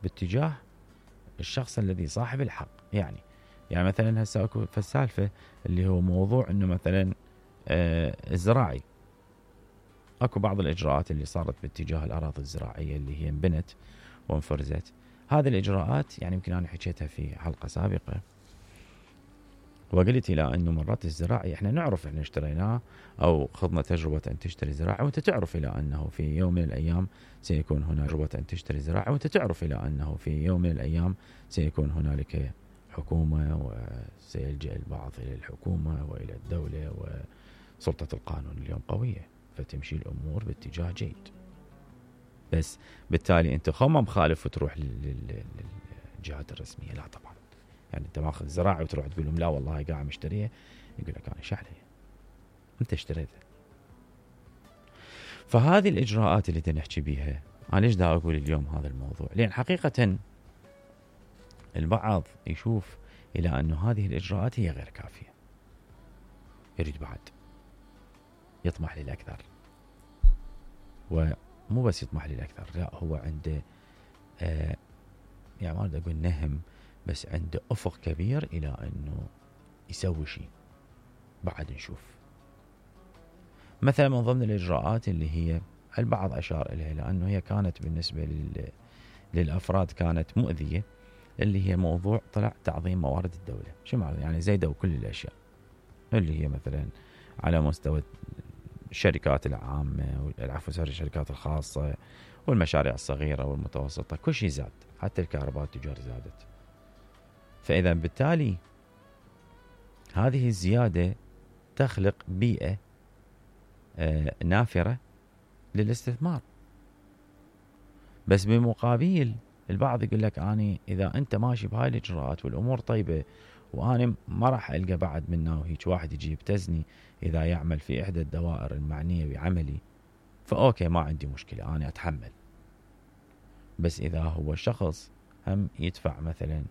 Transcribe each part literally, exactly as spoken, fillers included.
باتجاه الشخص الذي صاحب الحق. يعني يعني مثلا هسه اكو فالسالفة اللي هو موضوع انه مثلا آه الزراعي، اكو بعض الاجراءات اللي صارت باتجاه الاراضي الزراعية اللي هي انبنت وانفرزت. هذه الاجراءات يعني يمكن انا حكيتها في حلقة سابقة وقلت الى انه مرات الزراعي احنا نعرف احنا اشتريناه او خضنا تجربة ان تشتري زراعي، وانت تعرف الى انه في يوم من الايام سيكون هناك تجربة ان تشتري زراعي، وانت تعرف الى انه في يوم من الايام سيكون هنالك حكومة وسيلجأ البعض الى الحكومة والى الدولة، وسلطة القانون اليوم قوية فتمشي الامور باتجاه جيد. بس بالتالي انت خو ما مخالف وتروح للجهات الرسمية، لا طبعا. يعني انت ماخذ زراعي وتروح تقول لهم لا والله قاعد مشتريه، يقول لك انا شحلي انت اشتريته. فهذه الاجراءات اللي نحكي بيها، انا ليش دا اقول اليوم هذا الموضوع؟ لان حقيقة البعض يشوف الى انه هذه الاجراءات هي غير كافية، يريد بعد يطمح للاكثر، ومو بس يطمح للاكثر، لا هو عنده آه يعني ما اريد اقول نهم، بس عنده افق كبير الى انه يسوي شيء. بعد نشوف مثلا من ضمن الاجراءات اللي هي البعض اشار اليها لانه هي كانت بالنسبه لل... للافراد كانت مؤذيه، اللي هي موضوع طلع تعظيم موارد الدوله. شو معنى؟ يعني زيدوا كل الاشياء اللي هي مثلا على مستوى الشركات العامه والعفو الشركات الخاصه والمشاريع الصغيره والمتوسطه، كل شيء زاد، حتى الكهرباء التجار زادت. فاذا بالتالي هذه الزياده تخلق بيئه آه نافره للاستثمار. بس بمقابل البعض يقول لك اني اذا انت ماشي بهاي الاجراءات والامور طيبه وانا ما راح القى بعد منه وهيك واحد يجي يبتزني اذا يعمل في احدى الدوائر المعنيه بعملي، فاوكي ما عندي مشكله انا اتحمل. بس اذا هو الشخص هم يدفع مثلا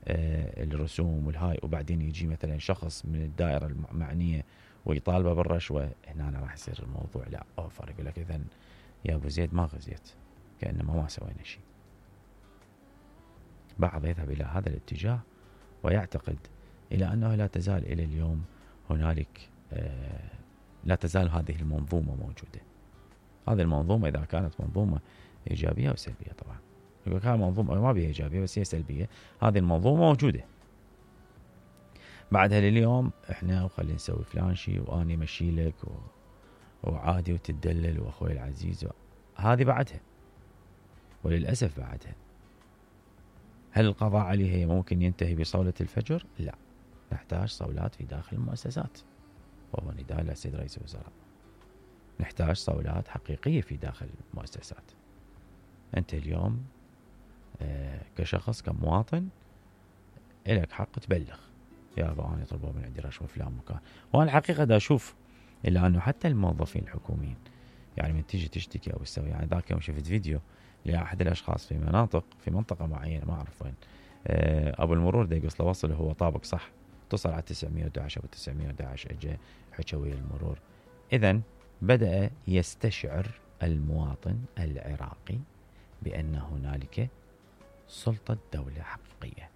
آه الرسوم والهاي، وبعدين يجي مثلا شخص من الدائره المعنيه ويطالبه بالرشوه، هنا أنا راح يصير الموضوع لا اوفر. يقول لك اذا يا ابو زيد ما غزيت، كانما ما سوينا شيء. بعض يذهب الى هذا الاتجاه ويعتقد الى انه لا تزال الى اليوم هنالك آه لا تزال هذه المنظومه موجوده. هذه المنظومه اذا كانت منظومه ايجابيه او سلبيه، طبعا يقول كان منظومه ما بها ايجابيه بس هي سلبيه، هذه المنظومه موجوده. بعدها لليوم احنا وخلينا نسوي فلان شيء واني مشي لك و... وعادي وتدلل واخوي العزيز و... هذه بعدها، وللاسف بعدها. هل القضاء عليها ممكن ينتهي بصولة الفجر؟ لا، نحتاج صولات في داخل المؤسسات، وهو نداء للسيد رئيس الوزراء. نحتاج صولات حقيقية في داخل المؤسسات. أنت اليوم آه كشخص كمواطن إلك حق تبلغ، يا أبا أنا طلبوا من عندي رشوة فلان مكان. وأنا الحقيقة دا أشوف إلا أنه حتى الموظفين الحكوميين يعني من تيجي تشتكي أو تسوي، يعني ذاك يوم شفت فيديو لأحد الأشخاص في مناطق في منطقة معينة ما أعرف وين، آه أبو المرور دا يقص له وصل هو طابق صح، اتصل على تسعمية وأحد عشر أو تسعمية وأحد عشر اجى حكى ويا المرور. إذن بدأ يستشعر المواطن العراقي بأن هنالك سلطة دولة حقيقية.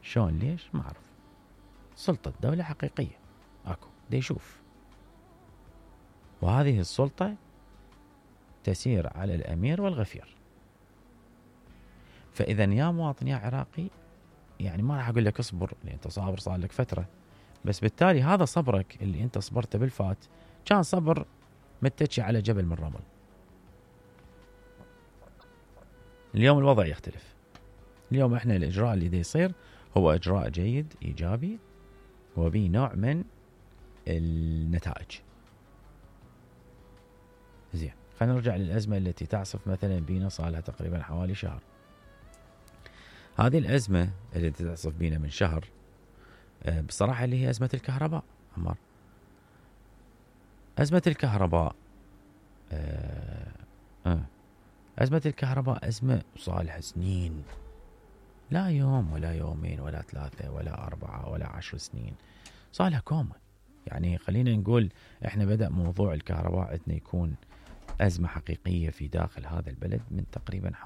شلون؟ ليش؟ ما أعرف. سلطة دولة حقيقية أكو دا يشوف، وهذه السلطة تسير على الأمير والغفير. فإذا يا مواطن يا عراقي، يعني ما راح أقول لك اصبر لأن أنت صابر صار لك فترة، بس بالتالي هذا صبرك اللي أنت صبرته بالفات كان صبر متكي على جبل من رمل. اليوم الوضع يختلف. اليوم احنا الإجراء اللي دا يصير هو إجراء جيد إيجابي وبه نوع من النتائج. زين، خلينا نرجع للأزمة التي تعصف مثلا بينا صار لها تقريبا حوالي شهر. هذه الأزمة التي تعصف بينا من شهر بصراحة اللي هي أزمة الكهرباء. عمار، أزمة الكهرباء آه آه أزمة الكهرباء أزمة صالحة سنين، لا يوم ولا يومين ولا ثلاثة ولا أربعة ولا عشر سنين، صالحة كومة. يعني خلينا نقول إحنا بدأ موضوع الكهرباء عندنا يكون أزمة حقيقية في داخل هذا البلد من تقريبا